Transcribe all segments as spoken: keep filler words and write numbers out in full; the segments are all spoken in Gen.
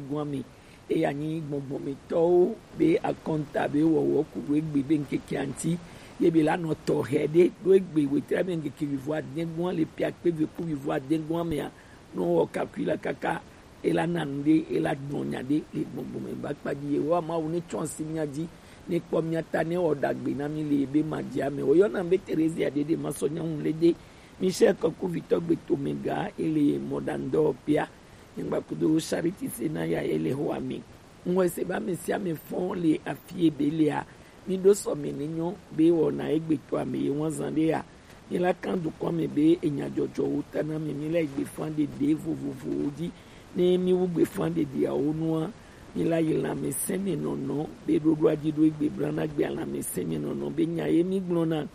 Gɔme. Eya nyi gbɔngbɔnmetɔwo be akɔnta be wɔwɔ ku ɖo egbe be ŋkeke aŋti ye be la nɔ tɔxɛ ɖe ɖo egbe wetrɛ be ŋkeke wivo adɛgɔn le pia kpe ve ku wivo adɛgɔn mea, nɔ wɔ kakui la kaka ela na nu ɖe ela gblɔ nya ɖe le gbɔngbɔnme ba kpa dzi ye wɔ Mawu ne tsɔ asi mia dzi ne kpɔ mia ta ne wɔ ɖagbe na mi le be ma dzi ame. Woyɔna be Terezia ɖe ɖe ma sɔ nyɔnu le ɖe Michel Kɔkuvitɔ gbe tome ga ele mɔɖaŋdɔ pia. Nyagba kudo Charity se na ya ele ho ame. Ŋwɔ se ba ame sia ame fɔn le afi ebe lea. Mi ɖo sɔ me ne nyɔ be wɔna egbe to ame ye wɔn zan ɖe ya. Mi la kan dukɔ me be enya dzɔdzɔwo ta na mi, mi la egbe fan ɖeɖe vovovowo dzi. Ne mi wu gbe fan ɖeɖeawo nua, mi la yi lãmesẽ me nɔnɔ be ɖoɖoa dzi ɖo egbe bla na gbe lãmesẽ me nɔnɔ be nya ye mi gblɔna.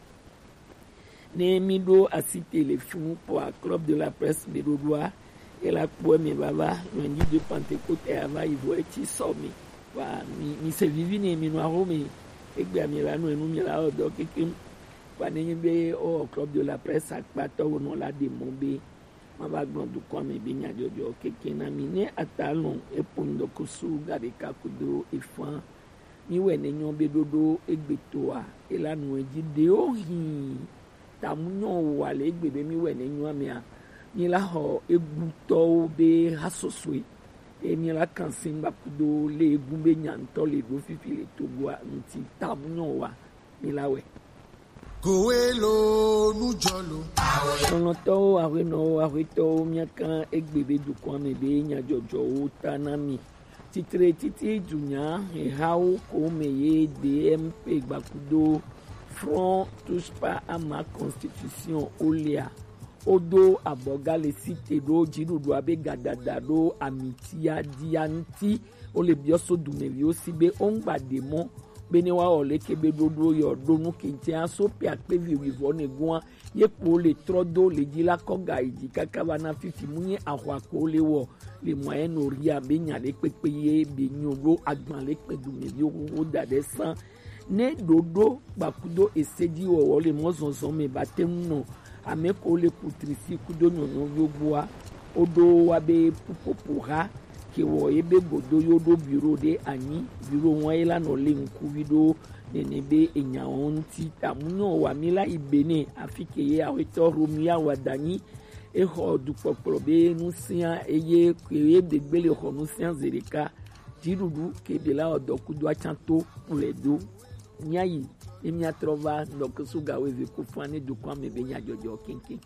Ne mi ɖo asi te le funu kpɔa Club de la Presse be ɖoɖoa, ela kpɔe me vava lundi de Pentecôte ava yi vɔ etsi sɔ mi. Wa mi mi se vivi ne mi nɔ aho me. Egbea mi la nɔ enu mi la wɔ dɔ kekem. Wa ne nyi be o Club de la Presse akpatɔwo nɔ la ɖe mɔ be ma va gblɔ dukɔ me be nyadzɔdzɔ keke na mi ne ata lɔn epo ŋdɔkusu ga ɖeka kudo efan. Mi wɛ ne nyɔ be ɖoɖo egbetoa ela nu edzi ɖewo hin tamu nyɔ wa le egbe be mi wɛ ne nyɔ amea mi la xɔ egutɔwo be ha sosoe eye mi la kan si ŋgba kudo le egu be nya ŋutɔ le ɖo fifi le Togoa ŋuti tamu nyɔ wa mi la wɛ. Kowe lo nujɔ lo. Lɔlɔ̃tɔwo, aƒenɔwo, aƒetɔwo, míaka egbe be dukɔa me be nyadzɔdzɔwo ta na mi. Titre titi dunya hehawo ko me ye D M P gbakudo Front Touche Pas à ma Constitution olea. Wodo abɔga le site ɖo dziɖuɖua be gadada ɖo amitia dia ŋuti. Wole biɔ so dumeviwo si be woŋgba ɖe mɔ be ne woawɔ leke be ɖoɖo yɔ ɖo nu kente aso pe akpe vi wivɔ ne gua ye kpo le trɔ do le dzi la kɔ ga yi dzi kaka va na fifi mu nye axwa ko le wɔ le moyen orient be nya ɖe kpekpe ye be nyo ɖo agban le kpe dumeviwo xoxo da ɖe san. Ne ɖoɖo kpakudo esedziwɔwɔ le mɔzɔzɔ me ba te ŋu nɔ ame ko le kutrisi kudo nyɔnyɔviwo gbɔa, woɖo wa be pupopo ha ke wɔ ye be godo yo ɖo biro ɖe anyi, biro wɔn ye la nɔ le ŋkuvi ɖo nene be enyawo ŋuti ta mu nyɔ wa mi la yi Benin afi ke ye awetɔ Romuald Wadagni exɔ dukpɔkplɔ be nusia eye ke ye degbe le xɔ nusia zeɖeka. Dziɖuɖu ke be la wɔ dɔ kudo atsa to kplɔe do. Míayi ne míatrɔ va ŋdɔkusu gawo eve ko fua ne dukɔa me be nyadzɔdzɔ keŋkeŋ.